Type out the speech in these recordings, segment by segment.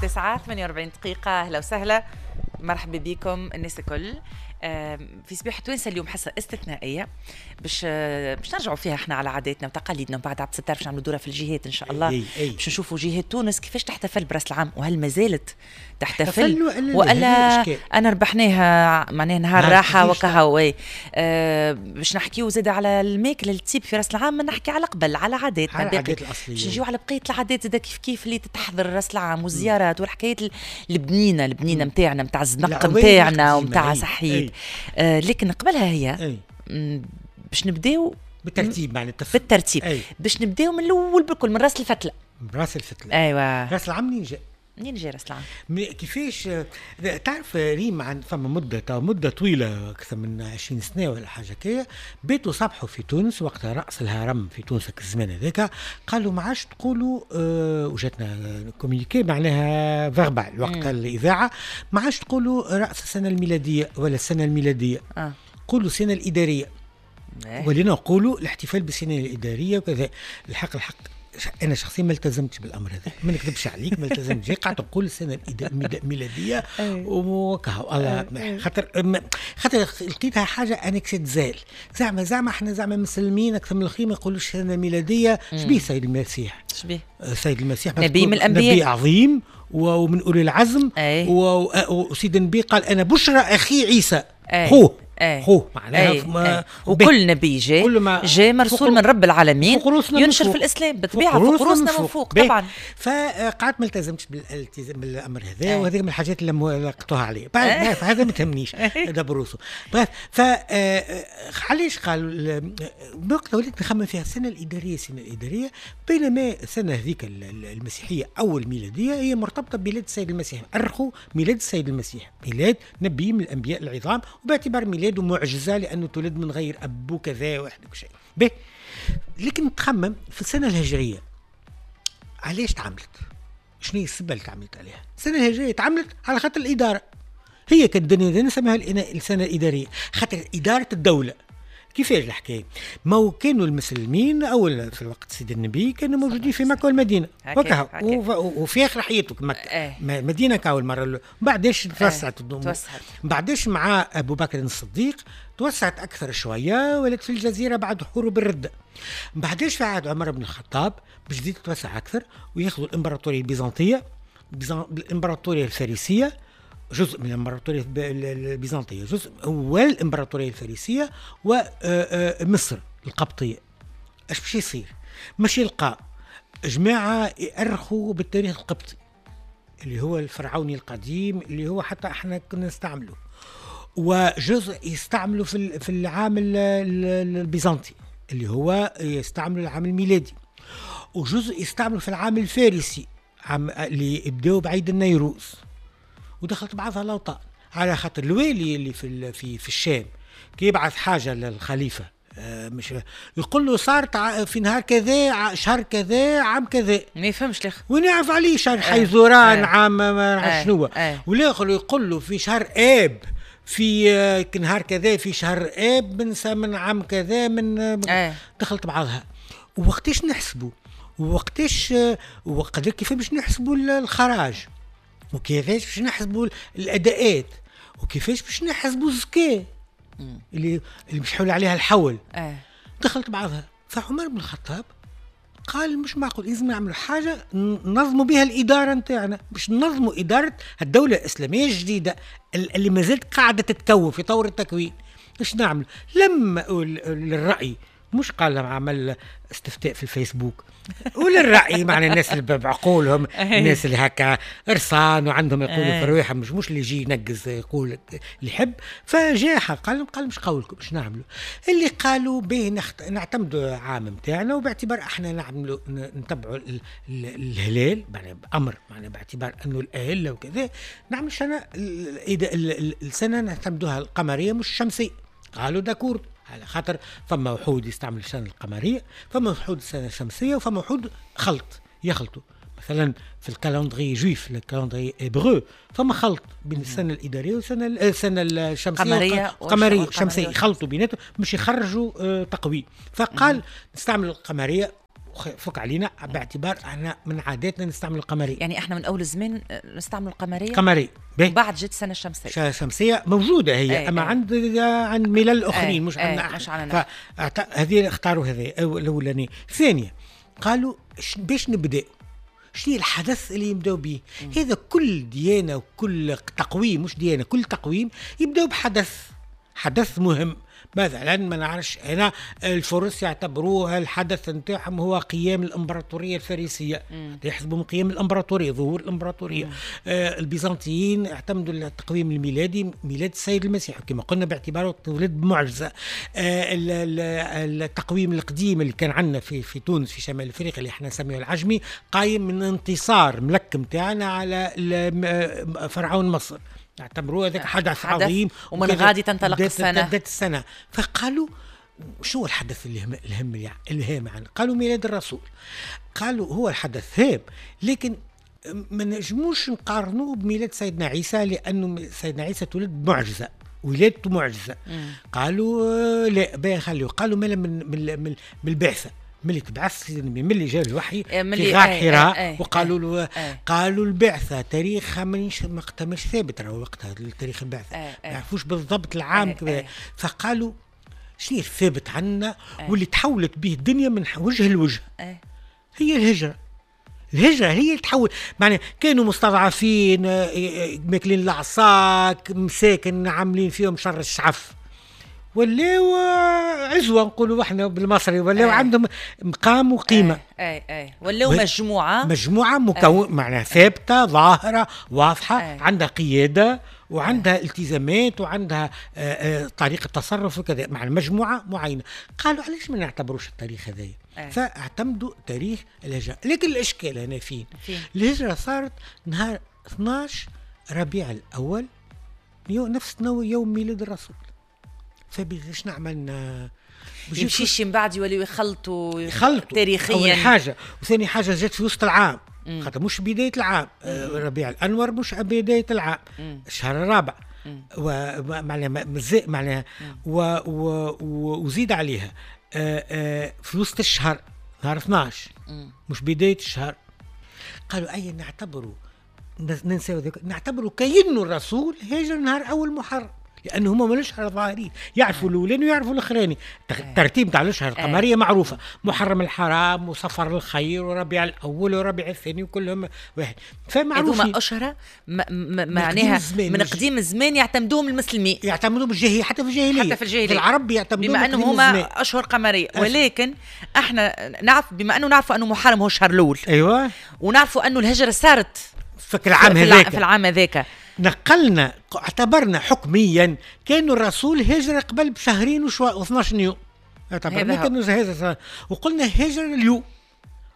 9:48. أهلا وسهلا، مرحبا بكم الناس الكل في صباح توانسة. اليوم حصة استثنائية باش نرجعوا فيها احنا على عاداتنا وتقاليدنا، وبعد عبد الستار باش نعملوا دوره في الجهات ان شاء الله، باش نشوفوا جهات تونس كيفاش تحتفل براس العام، وهل ما زالت تحتفل ولا انا ربحناها معناها نهار راحة وكهو. باش نحكيو زاد على الماكلة اللي تصيب في راس العام، نحكي على قبل على عاداتنا العادات الاصلية، باش نجيو على بقية العادات زاد كيف كيف اللي تتحضر راس العام والزيارات والحكايات البنينه البنينه نتاعنا نتاع الزنق نتاعنا ونتاع صحيت. لكن قبلها هي باش نبداو بالترتيب، معناتها بالترتيب باش نبداو من الاول بالكل، من راس الفتله. من راس الفتله، ايوا. راس العام منين جا؟ منين جا راس العام؟ كيفاش تعرف ريم، عن فما مده طويلة اكثر من 20 سنة ولا حاجة كيا، بيتوا صبحوا في تونس وقتها راس الهرم في تونس الزمان هذاك، قالوا ما عادش تقولوا وجاتنا communiqué معناها verbal وقتها الاذاعة، ما عادش تقولوا راس السنة الميلادية ولا السنة الميلادية، قولوا السنة الادارية. ولينا نقولوا الاحتفال بالسنة الادارية وكذا. الحق انا شخصيا ما التزمتش بالامر هذا، ما نكذبش عليك، ما التزمتش، قعدت نقول السنة الميلادية وكهو، خاطر لقيتها حاجة انكسيت زال، زعما احنا زعما مسلمين اكثر من الاخرين ما يقولوش السنة الميلادية. شبيه سيد المسيح؟ شبيه سيد المسيح؟ نبي من الانبياء، نبي عظيم ومن اولي العزم، وسيد النبي قال انا بشرى اخي عيسى، خوه خوه معناها. وكل نبي جاء مرسول من رب العالمين ينشر في الاسلام بالطبيعة، فوق رؤوسنا من فوق طبعا. فقعدت ما التزمتش بالالتزام بالامر هذا، وهذه من الحاجات اللي لقطوها علي بعد هذا ما تهمنيش دبروسو. ف علاش قالوا وقت وليت نخمم فيها السنة الادارية، السنة الادارية، بينما السنة هذيك المسيحية او الميلادية هي مرتبطة بميلاد السيد المسيح، ارخوا ميلاد السيد المسيح، ميلاد نبي من الانبياء العظام، وباعتبار ميلاده معجزه لانه تولد من غير اب وكذا واحد وشيء به. لكن تخمم في السنة الهجرية علاش تعملت؟ شنو هي السبه اللي تعملت عليها؟ السنة الهجرية تعملت على خاطر الادارة، هي كانت الدنيا نسميها السنة الادارية خاطر ادارة الدولة. كيفاش الحكاية؟ ما كانوا المسلمين اول في الوقت سيد النبي كانوا موجودين في مكة والمدينة وكهو، وفي اخر حياته مكة مدينة كاول المرة، بعداش توسعت، بعداش مع ابو بكر الصديق توسعت اكثر شوية، ولات في الجزيرة بعد حروب الردة. بعداش في عهد عمر بن الخطاب باش تزيد تتوسع اكثر وياخذوا الامبراطورية البيزنطيه، الامبراطورية الفارسية، جزء من الامبراطورية البيزنطيه، جزء والامبراطوريه الفارسية ومصر القبطية. اش باش يصير؟ مش يلقى جماعة يأرخوا بالتاريخ القبطي اللي هو الفرعوني القديم اللي هو حتى احنا كنا نستعمله، وجزء يستعملوا في العام البيزنطي اللي هو يستعملوا العام الميلادي، وجزء يستعملوا في العام الفارسي عام اللي يبداو بعيد النيروز. ودخلت بعضها الاوطان على خاطر الوالي اللي في الشام كي يبعث حاجة للخليفة مش يقول له صارت في نهار كذا شهر كذا عام كذا، ما يفهمش الاخر وين يعرف عليه شهر حيزوران عام ما شنو، والاخر يقول له في شهر اب في نهار كذا في شهر اب من عام كذا من دخلت بعضها. ووقتاش نحسبوا؟ ووقتاش وقدر كيف باش نحسبوا الخراج؟ وكيفاش باش نحسبوا الاداءات؟ وكيفاش باش نحسبوا الزكاة اللي مش حول عليها الحول؟ دخلت بعضها. فعمر بن الخطاب قال مش معقول، لازم نعملوا حاجة ننظموا بها الادارة نتاعنا، باش ننظموا ادارة الدولة الاسلامية الجديدة اللي ما زالت قاعدة تتكون في طور التكوين. ايش نعمل؟ لما للراي، مش قال عمل استفتاء في الفيسبوك وللرأي معنى الناس اللي بعقولهم، الناس اللي هكا رصان وعندهم يقولوا في رواحهم، مش اللي يجي ينقز يقول اللي يحب. فجاء قال مش قولكم باش نعملوا اللي قالوا به، نعتمدوا عام نتاعنا، وباعتبار احنا نعملوا نتبعوا الهلال معنى بامر، معنى باعتبار انه الاهلة وكذا، نعمل سنة السنة نعتمدوها القمريه مش الشمسية. قالوا d'accord، على خاطر فما وحود يستعمل السنة القمرية، فما وحود السنة الشمسية، وفما وحود خلط يخلطوا. مثلا في ال calendrier juif، ال calendrier hébreu، فما خلط بين السنة الإدارية والسنة السنة الشمسية، القمرية الشمسية، يخلطوا بيناتهم باش يخرجوا تقويم. فقال نستعمل القمرية فك علينا باعتبار احنا من عاداتنا نستعمل القمريه. يعني احنا من اول الزمان نستعمل القمريه. قمريه. بعد جت السنة الشمسية. الشمسية موجودة هي، اما عند ملل اخرين، مش عندنا. مش عندنا. هذه اختاروا هذه الاولانية. ثانية قالوا باش نبدا شنو الحدث اللي يبداو به؟ هذا كل ديانة وكل تقويم، مش ديانة، كل تقويم يبداو بحدث، حدث مهم. مثلا ما نعرفش انا، الفرس يعتبروها الحدث نتاعهم هو قيام الامبراطورية الفارسية، يحسبوا من قيام الامبراطورية، ظهور الامبراطورية. البيزنطيين اعتمدوا التقويم الميلادي، ميلاد السيد المسيح كما قلنا باعتباره تولد بمعجزه. التقويم القديم اللي كان عندنا في تونس في شمال افريقيا اللي احنا نسميه العجمي، قايم من انتصار ملك نتاعنا على فرعون مصر، اعتبروه هذاك حدث عظيم، ومن غادي تنطلق السنة، بدات السنة. فقالوا شو الحدث الهم الهام عنه؟ قالوا ميلاد الرسول. قالوا هو الحدث هام، لكن ما نجموش نقارنوه بميلاد سيدنا عيسى، لأنه سيدنا عيسى تولد بمعجزة، ولادته معجزة. قالوا لا باهي خليه. قالوا مالا من البعثة، ملي تبعث ملي جاء الوحي في غار حراء، وقالوا له قالوا البعثة تاريخها وقتها مش ثابت، راهو وقتها تاريخ البعثة ما يعرفوش بالضبط العام. فقالوا شنو الثابت عندنا واللي تحولت به الدنيا من وجه لوجه؟ هي الهجرة. الهجرة هي اللي تحول، معناها كانوا مستضعفين، ماكلين العصاك، مساكن عاملين فيهم شر الشعف، ولاو عزوه نقولوا احنا بالمصري، ولاو عندهم مقام وقيمه. اي ولاو مجموعة مكون، معناها ثابتة ظاهره واضحة، عندها قيادة وعندها التزامات وعندها طريقه تصرف وكذا، مع مجموعة معينة. قالوا علاش ما نعتبروش التاريخ هذايا؟ فاعتمدوا تاريخ الهجرة. لكن الاشكال هنا فين؟ الهجرة صارت نهار 12 ربيع الاول، نفس يوم ميلاد الرسول. فباش نعمل يمشيش من بعد يوليو يخلطوا تاريخيا. أول حاجة، وثاني حاجة جات في وسط العام، خاطر مش بداية العام، ربيع الأنور مش بداية العام، الشهر الرابع، ومعناها معناها وزيد عليها في وسط الشهر نهار 12، مش بداية الشهر. قالوا أي نعتبروا، ننساو ذلك، نعتبروا كأنه الرسول هاجر نهار أول محرم، لأنه هما مالوش على ظاهرين، يعرفوا الأولاني ويعرفوا الأخراني. الترتيب تاع الأشهر القمرية معروفة، محرم الحرام وصفر الخير وربيع الأول وربيع الثاني وكلهم واحد، فمعروفين. هذوما أشهر معناها من قديم الزمان يعتمدوهم المسلمين، يعتمدوهم الجاهلية، حتى في الجاهلية، العرب يعتمدوهم بما أنهم هما أشهر قمرية. ولكن احنا نعرف، بما أنه نعرفوا أنه محرم هو الشهر الأول، أيوة، ونعرفوا أنه الهجرة صارت في العام هذاك، في العام هذاك نقلنا، اعتبرنا حكميا كانوا الرسول هجر قبل بشهرين و12 يوم، اعتبرنا كانوا هذا، وقلنا هجر اليوم.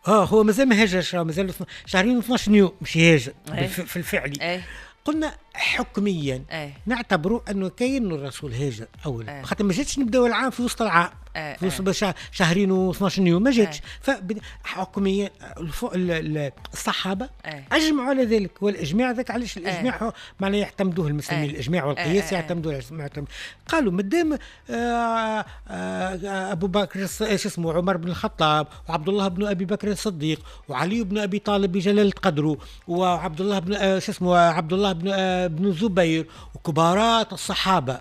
هو مازال ما هاجرش، مازال شهرين و12 يوم مش هاجر في الفعلي. قلنا حكميا نعتبروا انه كاين الرسول هاجر اولا، خاطر ما جاتش نبداو العام في وسط العام، في وسط شهرين و12 يوم ما جاتش. فحكميا الصحابة اجمعوا على ذلك، والاجماع ذاك علاش الاجماع معناه يعتمدوه المسلمين، الاجماع والقياس يعتمدوه. قالوا مادام ابو بكر ايش اسمه عمر بن الخطاب وعبد الله بن ابي بكر الصديق وعلي بن ابي طالب بجلاله قدره وعبد الله بن ايش اسمه عبد الله بن الزبير وكبارات الصحابة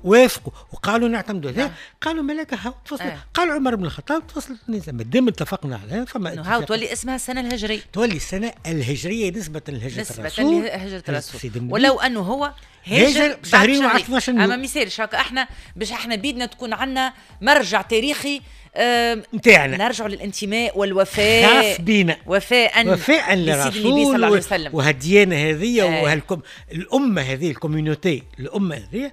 وافقوا وقالوا نعتمدوا هذا. قالوا ملاك هاو تفصل. قال عمر بن الخطاب تفصلت النظام، مادام اتفقنا عليها فما هاو تولي اسمها السنة الهجرية، تولي السنة الهجرية نسبه لهجره الرسول، نسبه لهجره الرسول، ولو انه هو هاجر شهرين و12 يوم. اما ما يصيرش هكا، احنا باش احنا بيدنا تكون عندنا مرجع تاريخي نتاعنا، نرجعوا للانتماء والوفاء، خاص بينا، وفاء للرسول النبي صلى الله عليه وسلم، وهالديانه هذه وهالكم الامة هذه، ال communauté، الامة هذه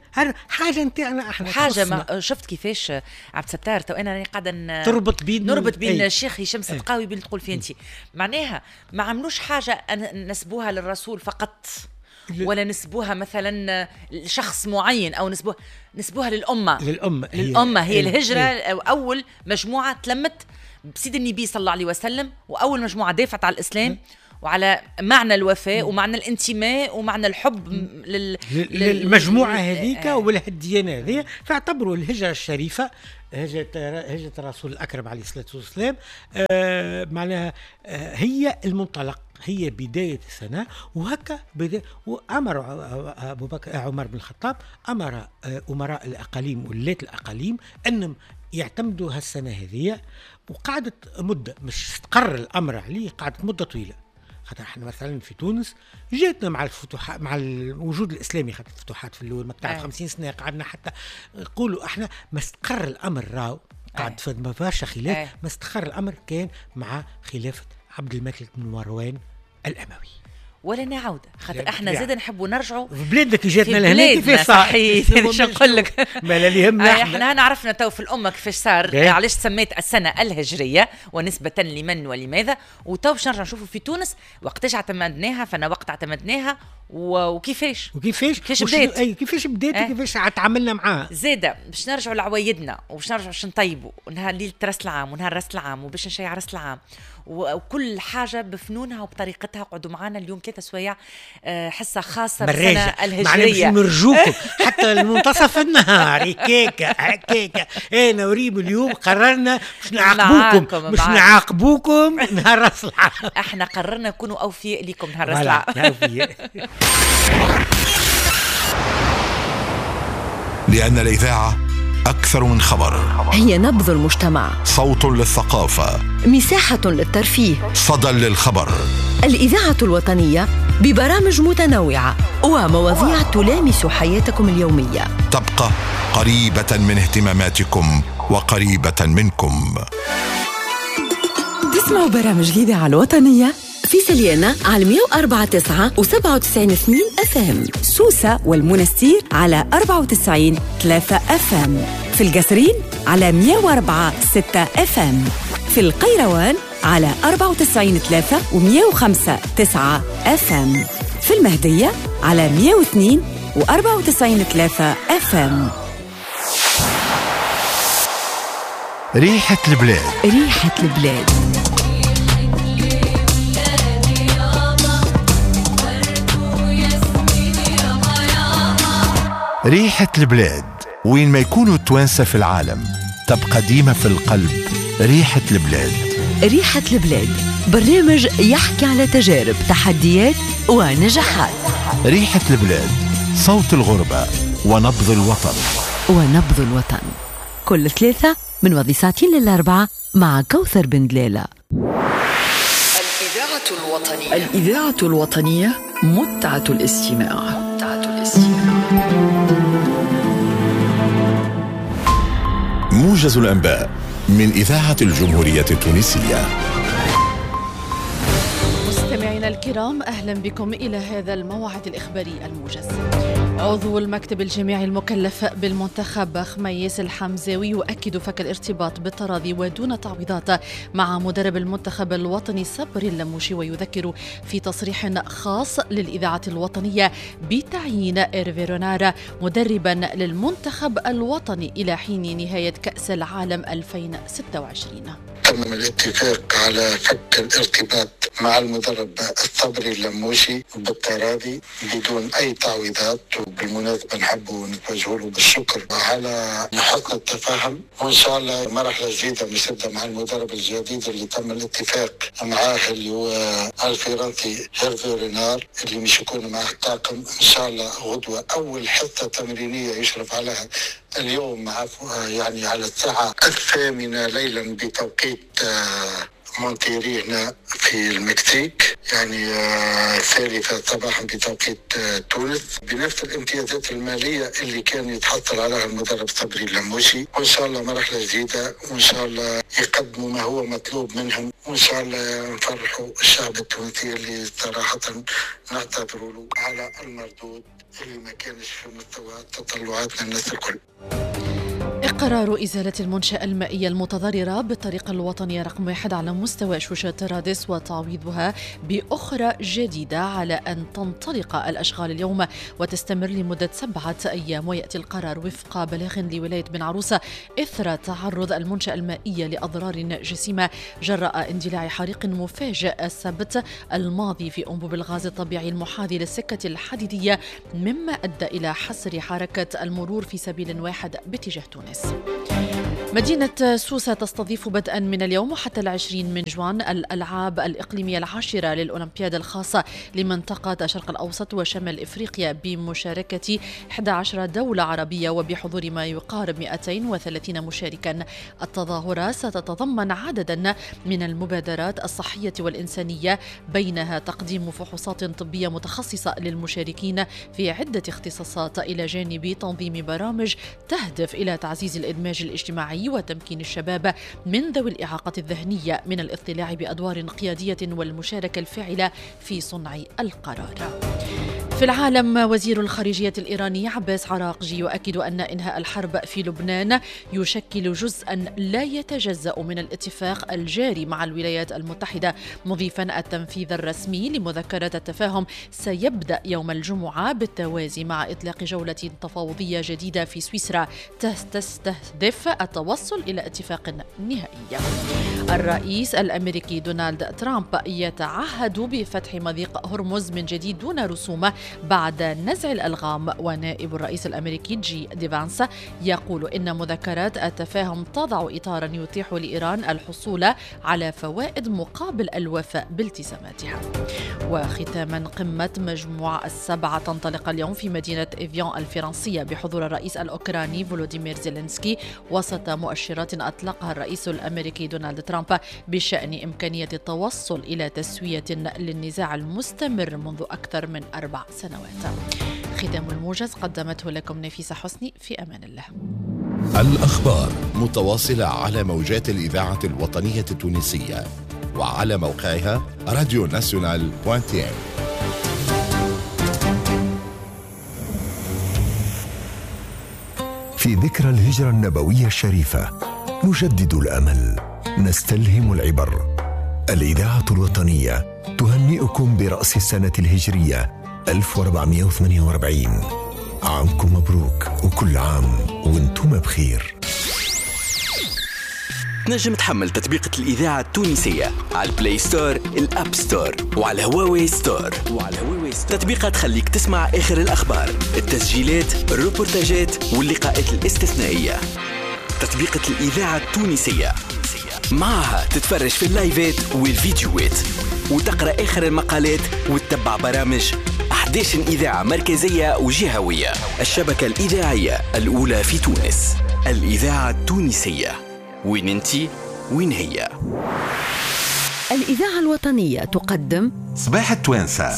حاجة نتاعنا احنا، حاجة ما شفت كيفاش عبد الستار تو انا راني قاعدة تربط بين نربط بين الشيخ هشام السدقاوي بين تقول فيه انت، معناها ما عملوش حاجة نسبوها للرسول فقط، ولا نسبوها مثلا لشخص معين، او نسبوها للامة، للامة هي الهجرة. اول مجموعة تلمت بسيد النبي صلى الله عليه وسلم، واول مجموعة دافعت على الاسلام، وعلى معنى الوفاء ومعنى الانتماء ومعنى الحب للمجموعة هذيك ولا الديانة هذه. فاعتبروا الهجرة الشريفة، هجره الرسول الاكرم عليه الصلاة والسلام، معناها هي المنطلق، هي بداية السنة. وهكا وأمر أبو بكر عمر بن الخطاب أمر أمراء الأقاليم ولاة الأقاليم أنهم يعتمدوا هالسنة هذه. وقعدت مدة مش استقر الأمر عليه، قعدت مدة طويلة. خاطر احنا مثلا في تونس جاتنا مع الفتوحات، مع الوجود الاسلامي، خاطر الفتوحات في الاول ما تعرف 50 سنة قعدنا حتى نقولوا احنا ما استقر الامر، راهو قعد في برشا خلاف. ما استقر الامر كان مع خلافه عبد الملك بن مروان الاموي. ولا نعود خاطر احنا زاد نحبوا نرجعوا في بلادنا كي جاتنا لهنا كيفاش صار. صحيح، باش نقول لك ما لا اللي يهمنا احنا عرفنا تو في الامة كيفاش صار، علاش سميت السنة الهجرية ونسبه لمن ولماذا. وتو باش نرجع نشوفوا في تونس وقتاش اعتمدناها، فانا وقت اعتمدناها وكيفاش كيفاش بدات، اي كيفاش بدات وكيفاش تعاملنا معاها. زاده باش نرجعوا لعوايدنا وباش نرجعوا باش نطيبوا نهار ليلة راس العام ونهار راس العام وباش نشيع راس العام وكل حاجة بفنونها وبطريقتها. قعدوا معنا اليوم 3 سوايع حصة خاصة بالسنة الهجرية. معناها نرجوكم حتى المنتصف النهار هكاكا هكاكا. انا وريم اليوم قررنا باش نعاقبوكم، مش نعاقبوكم نهار راس العام. احنا قررنا نكونوا اوفياء لكم نهار راس العام. لأن الإذاعة أكثر من خبر، هي نبض المجتمع، صوت للثقافة، مساحة للترفيه، صدى للخبر. الإذاعة الوطنية ببرامج متنوعة ومواضيع تلامس حياتكم اليومية، تبقى قريبة من اهتماماتكم وقريبة منكم. تسمعوا برامج الإذاعة الوطنية في سليانة على 104.9 و97.2 FM، سوسة والمنستير على 94.3 FM، في القصرين على 104.6 FM، في القيروان على 94.3 و105.9 FM، في المهدية على 102 و94.3 FM. ريحة البلاد، ريحة البلاد. ريحة البلاد وين ما يكونوا التوانسة في العالم تبقى ديما في القلب ريحة البلاد. ريحة البلاد برنامج يحكي على تجارب، تحديات ونجاحات. ريحة البلاد صوت الغربة ونبض الوطن، ونبض الوطن كل 3 من وضي 2:45 مع كوثر بن دلالة. الإذاعة الوطنية، الإذاعة الوطنية متعة الاستماع، متعة الاستماع. موجز الأنباء من إذاعة الجمهورية التونسية. مستمعينا الكرام، أهلا بكم إلى هذا الموعد الإخباري الموجز. عضو المكتب الجامعي المكلف بالمنتخب خميس الحمزاوي يؤكد فك الارتباط بالتراضي ودون تعويضات مع مدرب المنتخب الوطني صبري اللموشي، ويذكر في تصريح خاص للإذاعة الوطنية بتعيين إيرفي رونار مدربا للمنتخب الوطني إلى حين نهاية كأس العالم 2026. تم الاتفاق على فك الارتباط مع المدرب الصبري اللموشي بالتراضي بدون أي تعويضات، وبالمناسبة نحب نتوجه له بالشكر على حسن التفاهم، وإن شاء الله مرحلة جديدة مش تبدأ مع المدرب الجديد اللي تم الاتفاق معاه اللي هو الفرنسي هيرفي رينار اللي مش يكون معه الطاقم إن شاء الله غدوة أول حصة تمرينية يشرف عليها اليوم يعني على الساعة 8 ليلا بتوقيت مونتيري هنا في المكسيك، يعني 3 صباحا بتوقيت تونس، بنفس الامتيازات المالية اللي كان يتحصل عليها المدرب صبري اللموشي. وإن شاء الله مرحلة جديدة، وإن شاء الله يقدموا ما هو مطلوب منهم، وإن شاء الله نفرحوا الشعب التونسي اللي صراحة نعتذروا له على المردود اللي ما كانش في مستوى تطلعاتنا الناس الكل. قرار إزالة المنشأة المائية المتضررة بالطريق الوطنية رقم 1 على مستوى شوشة رادس وتعويضها بأخرى جديدة على أن تنطلق الأشغال اليوم وتستمر لمدة 7 أيام. ويأتي القرار وفق بلاغ لولاية بن عروسة إثر تعرض المنشأة المائية لأضرار جسيمة جراء اندلاع حريق مفاجئ السبت الماضي في أنبوب الغاز الطبيعي المحاذي للسكة الحديدية، مما أدى إلى حصر حركة المرور في سبيل واحد باتجاه تونس. مدينة سوسة تستضيف بدءا من اليوم حتى 20 من جوان الألعاب الإقليمية العاشرة للأولمبياد الخاصة لمنطقة الشرق الأوسط وشمال إفريقيا بمشاركة 11 دولة عربية وبحضور ما يقارب 230 مشاركا. التظاهرة ستتضمن عددا من المبادرات الصحية والإنسانية، بينها تقديم فحوصات طبية متخصصة للمشاركين في عدة اختصاصات، إلى جانب تنظيم برامج تهدف إلى تعزيز الإدماج الاجتماعي وتمكين الشباب من ذوي الإعاقة الذهنية من الاطلاع بأدوار قيادية والمشاركة الفاعلة في صنع القرار. في العالم، وزير الخارجية الإيراني عباس عراقجي يؤكد أن إنهاء الحرب في لبنان يشكل جزءا لا يتجزأ من الاتفاق الجاري مع الولايات المتحدة، مضيفا التنفيذ الرسمي لمذكرة التفاهم سيبدأ يوم الجمعة بالتوازي مع إطلاق جولة تفاوضية جديدة في سويسرا تستهدف التوصل إلى اتفاق نهائي. الرئيس الأمريكي دونالد ترامب يتعهد بفتح مضيق هرمز من جديد دون رسوم بعد نزع الألغام، ونائب الرئيس الأمريكي جي دي فانس يقول إن مذكرات التفاهم تضع إطارا يتيح لإيران الحصول على فوائد مقابل الوفاء بالتزاماتها. وختاما، قمة مجموعة السبعة تنطلق اليوم في مدينة إيفيان الفرنسية بحضور الرئيس الأوكراني فولوديمير زيلينسكي، وسط مؤشرات أطلقها الرئيس الأمريكي دونالد ترامب بشأن إمكانية التوصل إلى تسوية للنزاع المستمر منذ أكثر من 4 سنوات. ختام الموجز قدمته لكم نفيسة حسني، في أمان الله. الأخبار متواصلة على موجات الإذاعة الوطنية التونسية وعلى موقعها radionational.tn. في ذكرى الهجرة النبوية الشريفة نجدد الأمل، نستلهم العبر. الإذاعة الوطنية تهنئكم برأس السنة الهجرية 1448. عامكم مبروك وكل عام وانتم بخير. تنجم تحمل تطبيقة الإذاعة التونسية على ال Play Store، ال App Store، وعلى Huawei Store. تطبيقة تخليك تسمع آخر الأخبار، التسجيلات، الروبورتاجات واللقاءات الاستثنائية. تطبيقة الإذاعة التونسية معها تتفرج في اللايفات والفيديوهات وتقرأ آخر المقالات وتتبع برامج 11 إذاعة مركزية وجهوية. الشبكة الإذاعية الأولى في تونس، الإذاعة التونسية. وين انتي وين هي؟ الإذاعة الوطنية تقدم صباح التوانسة.